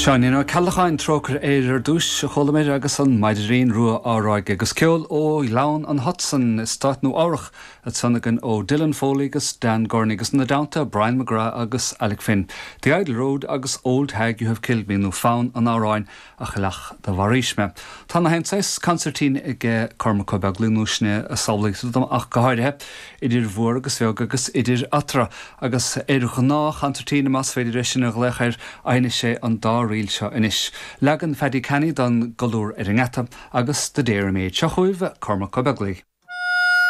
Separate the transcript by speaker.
Speaker 1: Seáinín Ó Ceallacháin, Trócaire Éire ar dtús, a chualamar agus an Maidirín Rua á rá aige agus ceol ó Ghleann an Hudson i Stát Nua Eabhrach ansan againn ó Dylan Foley agus Dan Gurney agus ina dteannta Brian McGrath agus Alec Finn. The Idle Road agus Old Hag You Have Killed Me nó fonn an amhráin A Chailleach Do Mharaís Mé. Tá na haon saghas consairtín ag Cormac Ó Beaglaoich nó sin a samhlaítear dom ach go háirithe, idir mhór agus bheag agus idir eatarthu, agus ar ghnáth-chonsairtín, más féidir é sin a ghlaoch air, a sheinneas sé an dá ríl seo anois. Leagan Phaddy Canny den Colúr ar an nGeata agus The Dairymaid. Seo chugaibh Cormac Ó Beaglaoich.